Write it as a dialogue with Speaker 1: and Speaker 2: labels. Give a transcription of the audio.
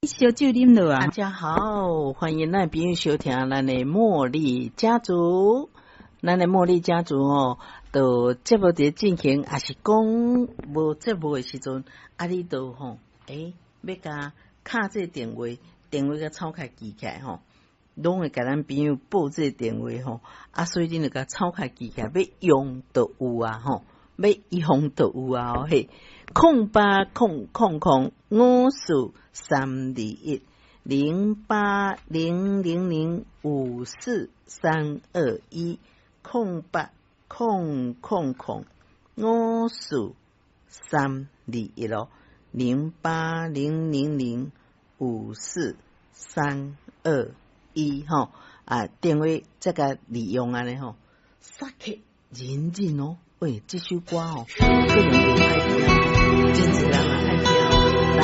Speaker 1: 燒酒啉落啊。
Speaker 2: 大家好，歡迎咱朋友收聽咱的茉莉家族。咱的茉莉家族哦，就節目佇進行，抑是講無節目的時陣，啊，你都吼，欲共敲這個電話，電話共抄開記起來吼，攏會共咱朋友報這個電話吼，啊，所以恁就共抄開記起來，欲用就有啊吼，欲用就有啊嘿，0800054321，0800054321。0800054321咯，0800054321吼啊，電話這個利用按呢吼，殺氣人人哦，喂，這首歌哦，可能袂歹聽，真濟人嘛愛聽。來，